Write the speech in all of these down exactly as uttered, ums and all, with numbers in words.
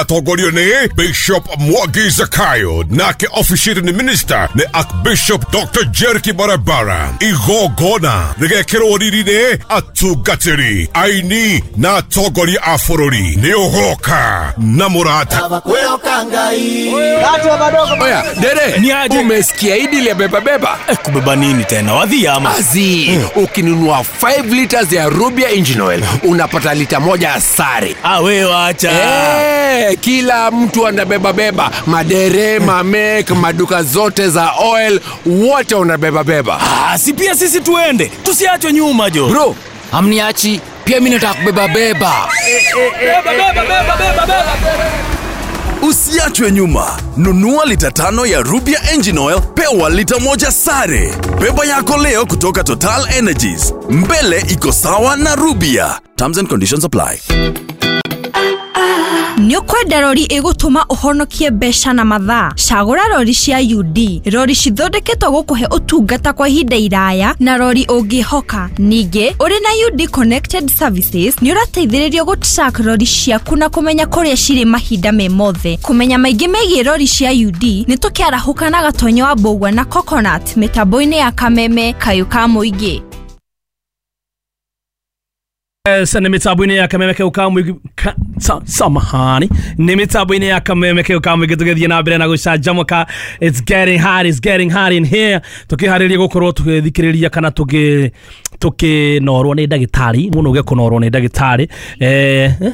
Atongorio nĩ Bishop Mwangi Zakayo, nake officiating minister nĩ Archbishop Doctor Jericky Barabara. Igongona rĩgekĩrwo riri nĩ atungatĩri, aini na atongoria a bũrũri. Nĩ ũgoka na mũrata. Oya, dere, Ni aje? Umesikia hii ya beba beba? Eh, kubeba nini tena? Wadhi ama? Azi, ukinunua five liters ya Rubia Engine Oil, unapata lita moja sare. Ah, we wacha. Eh, kila mtu anabeba beba, madere, mamek, maduka zote za oil, wote wanabeba beba. Ah, si pia sisi tuende. Tusiachwe nyuma jo. Bro, hamniachi, pia mimi nataka kubeba beba. Beba beba beba beba beba. Usiachwe nyuma. Nunua lita tano ya Rubia Engine Oil, pewa lita moja sare. Beba yako leo kutoka Total Energies. Mbele iko sawa na Rubia. Terms and conditions apply. Nĩ ũkwenda rori ĩgũtũma ũhonokie mbeca na mathaa? Cagũra rori cia U D, rori cithondeketwo gũkũhe ũtungata kwa ihinda iraya na rori ũngĩhoka. Ningĩ ũrĩ na U D Connected Services nĩ ũrateithĩrĩrio gũ-track rori ciaku na kũmenya kũrĩa cirĩ mahinda me mothe. Kũmenya maingĩ megiĩ rori cia U D, nĩ tũkĩarahũka na Gatonyo wa Mbũgua na Coconut mĩtambo-inĩ ya Kameme kayũ ka mũingĩ. Yes, nĩ mĩtambo-inĩ ya Kameme keu ka mũingĩ ka, sa, samahani, nĩ mĩtambo-inĩ ya Kameme keu ka mũingĩ, tũgĩthiĩ na mbere na gũcanjamũka. It's getting hot, it's getting hot in here. Tũkĩharĩria gũkorwo tũgĩthikĩrĩria kana tũgĩ tũkĩnorwo nĩ ndagĩtarĩ mũno, ũge kũnorwo nĩ ndagĩtarĩ, eh, eh?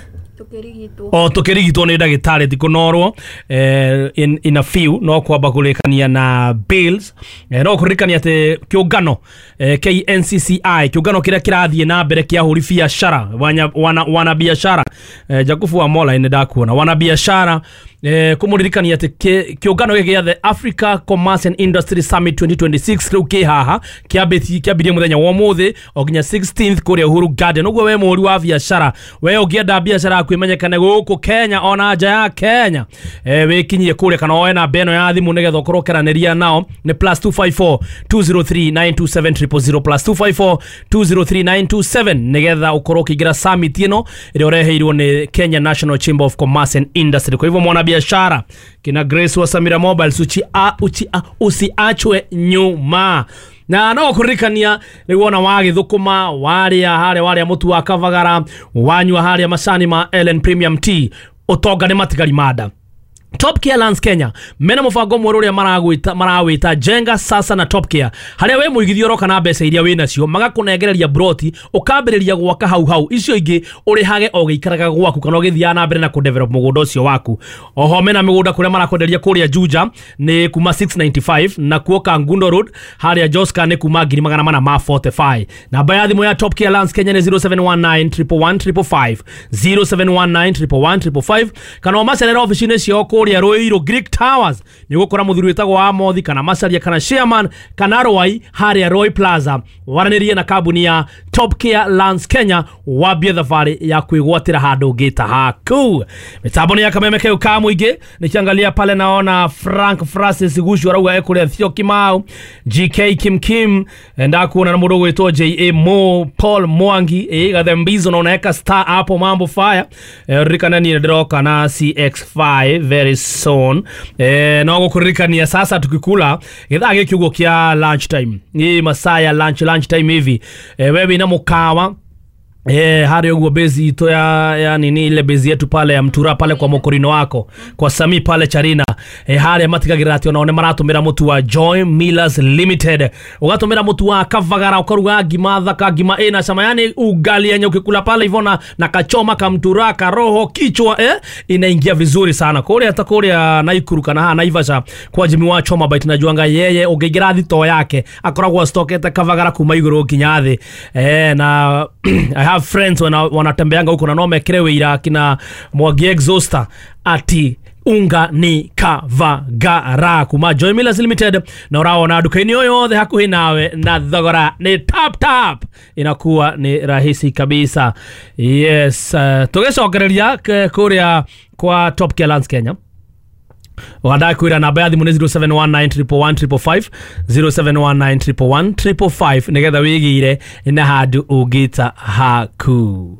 O tukirigitwo nĩ ndagĩtarĩ, ti kũnorwo. eh, in, in a few no kwamba kũrĩkania na bills, eh, no kũririkania atĩ kĩũngano eh, K N C C I, kĩũngano kĩrĩa kĩrathiĩ na mbere kĩa ahũri biacara, wana, wana, wana biacara, eh, Jakubu wa Mola, nĩ ndakuona, wana biacara, eh, kũmũririkania atĩ kĩ- kĩũngano gĩkĩ gĩa the Africa Commerce and Industry Summit twenty twenty-six rĩu kĩ haha, kĩambĩtie kĩambirie mũthenya wa ũmũthĩ o nginya sixteenth kũrĩa Uhuru Garden. Ũguo we mũhũri wa biacara, we ũngĩenda biacara yaku ĩmenyekane gũkũ Kenya ona nja ya Kenya, eh, wĩkinyie kũrĩa kana woe namba ĩno ya thimũ nĩgetha ũkorwo ũkĩaranĩria nao, nĩ plus two five four two zero three nine two seven zero zero zero, plus two five four two zero three nine two seven, nĩgetha ũkorwo ũkĩingĩra summit ĩno ĩrĩa ũreheirwo nĩ Kenya National Chamber of Commerce and Industry. Kwa hivyo mwanabiashara kina Grace wa Samira Mobiles, uchi a, uchi a, usiachwe nyuma. Na no kũririkania rĩu wona wagĩthũkũma, warĩa harĩa, warĩa mũtu wa Kavagara, wanyua harĩa macani ma Ellen Premium Tea, ũtonga nĩ matigari manda. Top Care Lands Kenya mena mũbango mwerũ ũrĩa maragwĩta marawĩta Jenga Sasa na Top Care, harĩa we mũigithia ũroka na mbeca iria wĩ nacio, magakũnengereria broti, ũkambĩrĩria gwaka hau hau, icio ingĩ ũrĩhage o gĩikaraga gwaku kana ũgĩthiaga na mbere na kũdevelop mũgũnda ũcio waku. Oho mena mĩgũnda kũrĩa marakwenderia kũrĩa Juja nĩ kuma six ninety-five, na kuo Kangundo Road harĩa Joska nĩ kuma ngiri magana mana ma mĩrongo ĩna na ithano. Namba ya thimũ ya Top Care Lands Kenya nĩ zero seven one nine one one one five five, zero seven one nine one one one five five, kana ũmacerere ofici-inĩ ciao kũrĩa Ruiru Greek Towers, nĩ ũgũkora mũthuri wĩtagwo Amothi kana Macaria kana Chairman kana Rwai harĩa Roy Plaza. Waranĩrie na kambuni ya Top Care Lands Kenya, wambie thabarĩ ya kwĩgwatĩra handũ ũngĩta haku. Mĩtambo nĩ ya Kameme keu ka mũingĩ. Nikiangalia pale naona Frank Francis Gushu arauga ekũrĩa Thio Kimau, G K Kim Kim ndakuona, na mũndũ ũgwĩtwo J A Mo Paul Mwangi, eh, Gathembizo na unaweka star hapo, mambo fire. eh, ririkana niĩ ndĩroka na C X five very soon. eh, no gũkũririkania sasa tukikula gĩthaa gĩkĩ ũguo kĩa lunch time, hii masaa ya lunch lunch time hivi, eh, wewe ina mũkawa, Eh, harĩa ũguo base itũ ya, ya nini, ile base yetu pale ya Mtura pale kwa mokorino wako kwa Sami pale Charina, eh, harĩa matigagĩrĩra atĩ onao nĩ maratũmĩra mũtu wa Joy Millers Limited. Ũgatũmĩra mũtu wa Kavagara, ũkaruga ngima thaka, ngima ĩna cama, yani ugali yenye ukikula pale hivyo na, na kachoma kamtura karoho kichwa, eh, inaingia vizuri sana. Kũrĩa ta kũrĩa Naikuru kana haha Naivasha kwa Jimmy wa Choma Bite, najuanga yeye ũngĩingĩra thitoo yake akoragwo stokete Kavagara kuma igũrũ nginya thĩ. eh, na I have friends wana, wanatembeanga huko na no mekire wĩira kina Mwangi Exhauster ati unga ni Kavagara kuma Joy Millers Limited, na ũraona nduka-inĩ o yothe hakuhĩ nawe na thogora ni tap tap, inakuwa ni rahisi kabisa. Yes, uh, tũgĩcokereria k- kũrĩa kwa Top Care Lands Kenya, wandakwĩra namba ya thimũ nĩ zero seven one nine one one five five five, zero seven one nine one one five five, nĩgetha wĩgĩire na handũ ũngĩta haku.